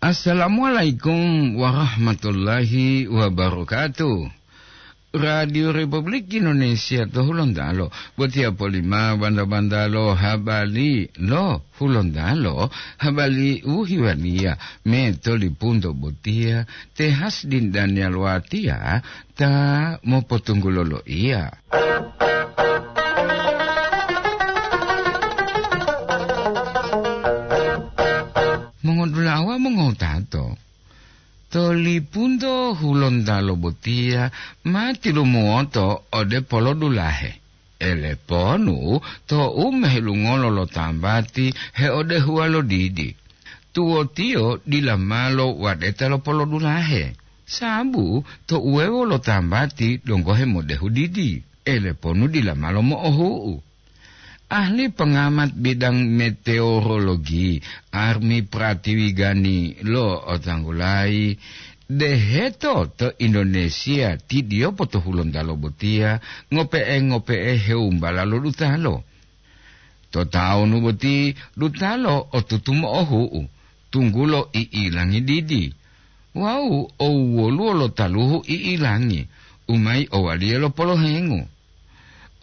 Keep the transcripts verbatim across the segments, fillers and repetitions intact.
Assalamualaikum warahmatullahi wabarakatuh. Radio Republik Indonesia to Hulontalo, botiya polima banda-bandalo habari lo Hulontalo, habari u hiwaliya me to lipunto botiya, te Hasdin Daniel Watiya ta mopotunggulo loiya. Mongodulawa mongotato, to lipunto Hulontalo botiya ma tilumuwoto ode polodulahe. Eleponu to'u mehelungolo lo tambati heodehuwa lo didi. Tuwotiyo dila malo wadeta lo polodulahe, sabu to uwewo lo tambati donggo hemodehu didi, eleponu dila malo mo'ohu'u. Ahli pengamat bidang meteorologi, Armi Pratiwigani lo otanggulayi, deheto to Indonesia tidiyopo to Hulontalo botiya ngope'e-ngope'e heumbala lo dutalo. To tawunu boti dutalo otutu mo'ohu'u, tunggulo i'ilangi didi, wawu owwoluwo lo taluhu i'ilangi, u mayi owaliya lo polohengu.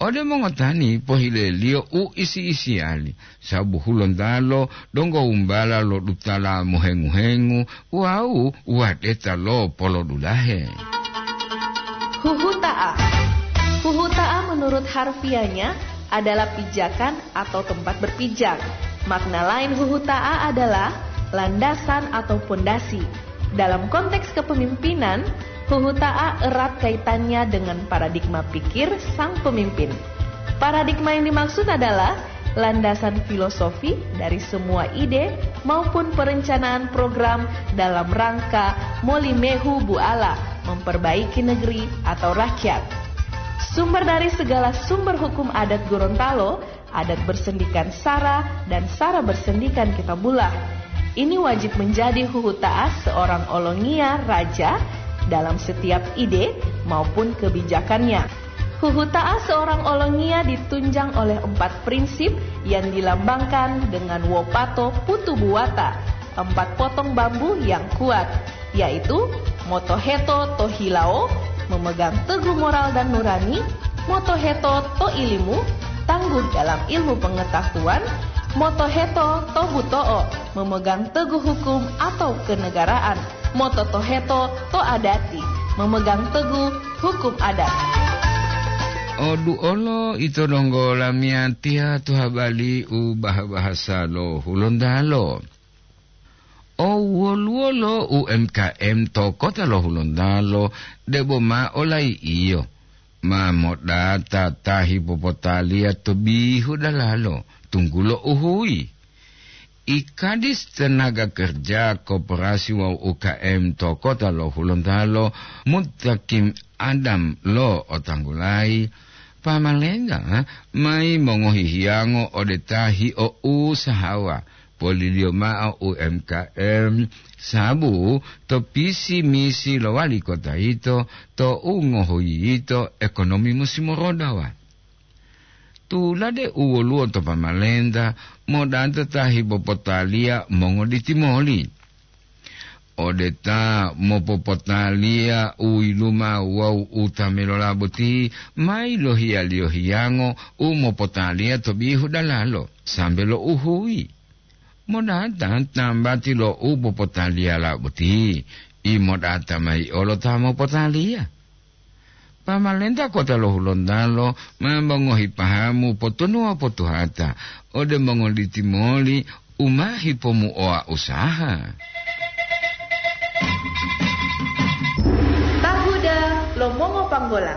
Ode mongotani pohileliyo u isi-isiyali, sabu Hulontalo donggo umbala lo dutala mohengu-hengu wawu wadeta lo polodulahe. Huhuta'a. Huhuta'a menurut harfiahnya adalah pijakan atau tempat berpijak. Makna lain huhuta'a adalah landasan atau pondasi. Dalam konteks kepemimpinan, huhuta'a erat kaitannya dengan paradigma pikir sang pemimpin. Paradigma yang dimaksud adalah landasan filosofi dari semua ide maupun perencanaan program dalam rangka molimehu buala memperbaiki negeri atau rakyat. Sumber dari segala sumber hukum adat Gorontalo, adat bersendikan sara dan sara bersendikan kitabullah. Ini wajib menjadi huhuta'a seorang olongiya raja dalam setiap ide maupun kebijakannya. Huhuta'a seorang olongiya ditunjang oleh empat prinsip yang dilambangkan dengan wopato putu buwata, empat potong bambu yang kuat, yaitu motoheto to hilawo, memegang teguh moral dan nurani, motoheto to ilimu, tangguh dalam ilmu pengetahuan, motoheto to buto'o, memegang teguh hukum atau kenegaraan, mototoheto to adati, memegang teguh hukum adat. Oduolo ito donggo lamiyatiya to habari u bah-bahasa lo Hulontalo. O woluwo lo U M K M to kota lo Hulontalo debo ma olai'iyo, ma modata ta hipopotaliya to bihu dalalo, tunggulo uhuyi. I Kadis Tenaga Kerja, Koperasi wawu U K M to kota lo Hulontalo, Mutakim Adam lo otanggulayi, pamalengga mayi mongohi hiyango ode ta hio'usahawa, poliliyo mao U M K M, sabu to pisi-misi lo wali kota yito, to u ngohoyiyito ekonomi musi morodawa. Tulade u woluwo to pamalenta, modata ta hipopotaliya mongoditi moli. Ode ta mopopotaliya u yiluma wawu u ta melola boti, ma yilohiyaliyo hiyango u mopotaliya to bihu dalalo, sambe lo uhuyi. Modata tambati lo u popotaliyala boti, i modata mayi olo ta mopotaliya. Pamalenta kota lo Hulontalo ma mongohi pahamu potunuwa potuhata ode mongoliti moli u ma hipomuoa usaha. Tahuda lo mongopanggola.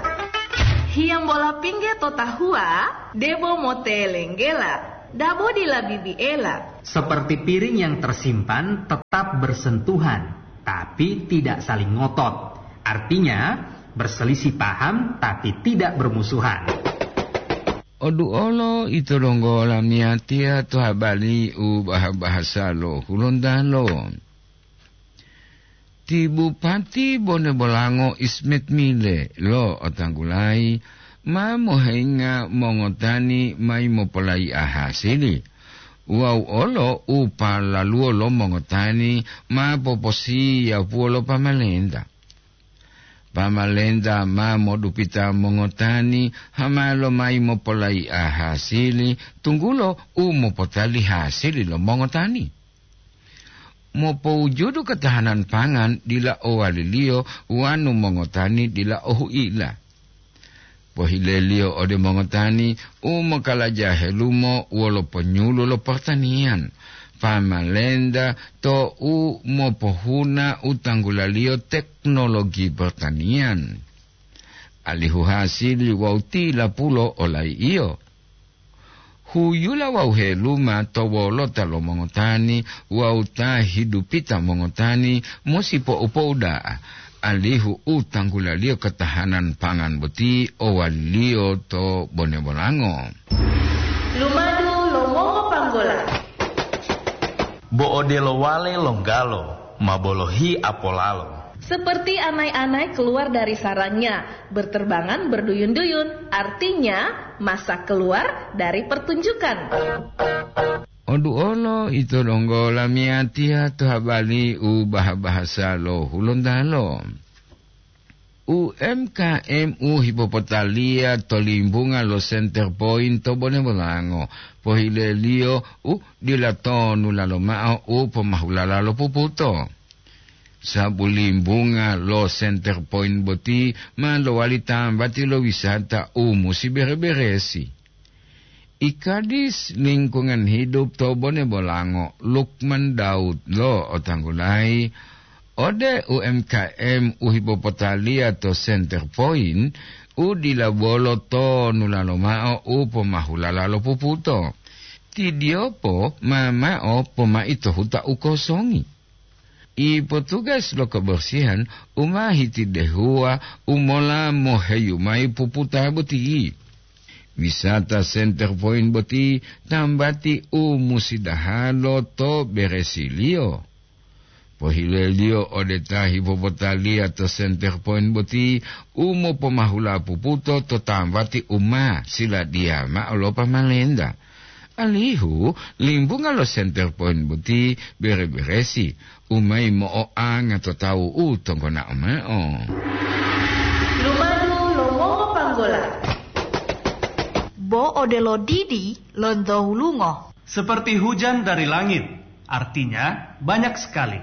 Hiyambola pingge to tahuwa, debo motelenggela, dabo dila bibiela. Seperti piring yang tersimpan tetap bersentuhan, tapi tidak saling ngotot. Artinya, berselisih paham tapi tidak bermusuhan. Oduolo ito donggo lamiyatiya to habari u bah-bahasa lo Hulontalo. Ti Bupati Bone Bolango Ismet Mile lo otanggulayi ma mohenga mongotani mayi mopolayi'a hasili. Wawu olo u palaluwo lo mongotani ma poposiyapuwo lo pamalenta. Pamalenta ma modupita mongotani hama lomayi mopolayi'a hasili, tunggulo u mopotali hasili lo mongotani. Mopowujudu katahanan pangan dila owaliliyo wanu mongotani dila ohu'ila. Pohileliyo ode mongotani u mokalaja helumo wolo ponyulu lo pertanian, pamalenta to u mopohuna u tanggulaliyo teknologi pertanian, alihu hasili wawu tilapulo olai'iyo. Huyula wawu heluma to wolota lo mongotani wawu ta hidupita mongotani musi po'u-po'u da'a, alihu u tanggulaliyo katahanan pangan boti owaliyo to bone bolango. Lumadu lo mongopanggola. Bo odelo wale longgalo, ma bolohi apolalo. Seperti anai-anai keluar dari sarangnya, berterbangan berduyun-duyun, artinya masak keluar dari pertunjukan. Oduolo ito donggo lamiyatiya to habali u baha-bahasa lo Hulontalo. U M K M u hipopotaliya to limbunga lo Center Point to Bone Bolango, pohileliyo u dila tonu lalo ma'o u pomahulala lo puputo. Sabu limbunga lo Center Point boti ma lowali tambati lo wisata u musi bere-beresi. I Kadis Lingkungan Hidup to Bone Bolango, Lukman Daud lo otanggulayi, ode U M K M u hipopotaliya to Center Point, u dila bolo tonu lalo ma'o u pomahulala lo puputo. Tidiyopo ma ma'o pomai to huta u kosongi. I potugas lo kebersihan u ma hitidehuwa u mola moheyu mayi puputa boti. Wisata Center Point boti tambati u musidahalo to beresiliyo. Pohileliyo ode ta hipopotaliya to Center Point boti u mopomahula puputo to tambati u ma siladiya ma'o lo pamalenta. Alihu limbunga lo Center Point boti bere-beresi, u mayi mo'oanga to tawu u tonggonao ma'o. Lumadu lo mongopanggola. Bo odelo didi lonto wulungo. Seperti hujan dari langit, artinya banyak sekali.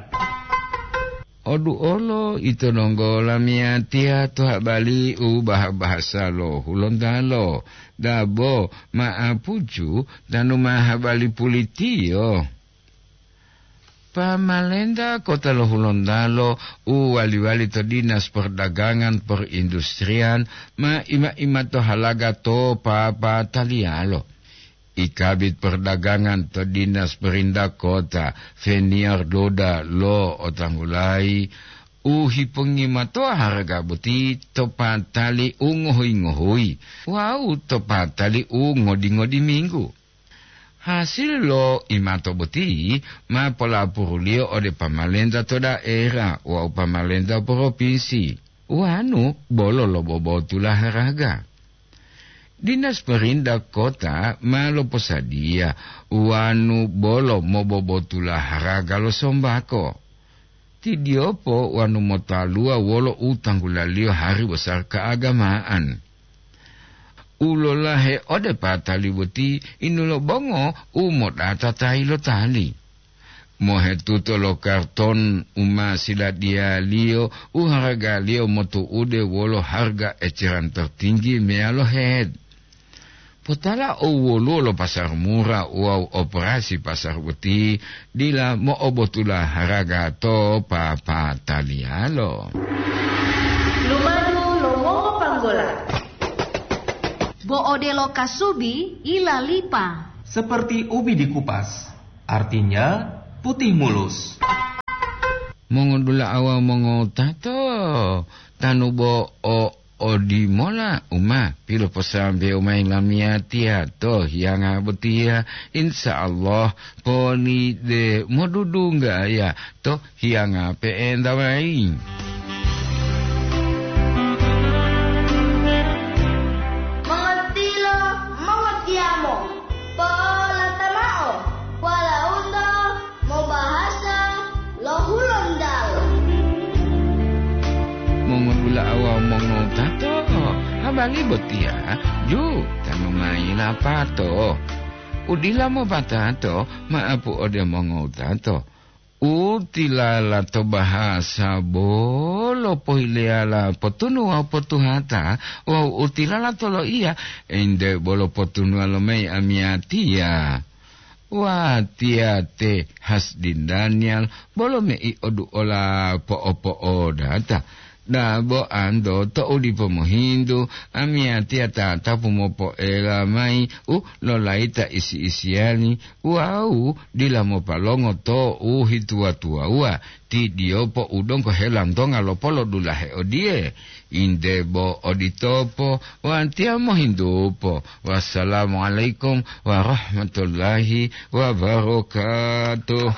Odu olo ito donggo lamiyatiya to habali u baha-bahasa lo Hulontalo, dabo ma'apuju tanu ma habali pulitiyo. Pamalenta kota lo Hulontalo u wali-wali to Dinas Perdagangan Perindustrian ma ima-ima to halaga to papataliyalo. I Kabid Perdagangan to Dinas Perintah Kota, Feniar Doda lo otanggulayi, u hipongimatoa haraga boti to patali u ngohuyi-ngohuyi wawu to patali u ngodi-ngodi minggu. Hasil lo imato boti ma polapuruliyo ode pamalenta to daera wawu pamalenta propinsi, wanu bolo lobobotula haraga. Dinas Perintah Kota ma loposadiya wanu bolo mobobotula haraga lo sombako. Tidiyopo wanu motaluwa wolo u tanggulaliyo hari bosar keagamaan. U lolahe ode patali boti inulobongo u modata tayi lo tali. Mohetuto lo karton u ma siladiyaliyo u haragaliyo motu'ude wolo harga eceran tertinggi meyalo head. Potala o woluwo lo pasar mura wawu operasi pasar boti dila mo'obotula haraga to papataliyalo. Lumadu lo mongopanggola. Bo odelo kasubi ilalipa. Seperti ubi dikupas, artinya putih mulus. Mongodula'a wawu mongotato, tanu bo o odimola u ma piloposambewo mayi lamiyatiya to hiyanga botiya, insya Allah poni de modudunggaya to hiyanga pe'enta mayi. Mongotilo, mongotiyamo, po'olata mao. Ali botiya, ju, tanu mayi lapato. Udila mopatato, maapu ode mongowutato. U tilala to bahasa bolo pohileyala potunu wawu potuhata, wawu u tilala to loiya, ente bolo potunuwa lomayi amiyatiya. Watiya te Hasdin Daniel bolo mei oduola po'opo'odata. Dabo anto to'u dipo mohintu, amiyatiya tatapu mopoela mayi u lolayita isi-isiyani wawu dila mopalongo to u hituwa-tuwawuwa, ti diyopo u donggo helantonga lopolodulahe odiye, "Inde bo oditopo, watiya mohintupo. Wassalamualaikum warahmatullahi wabarakatuh."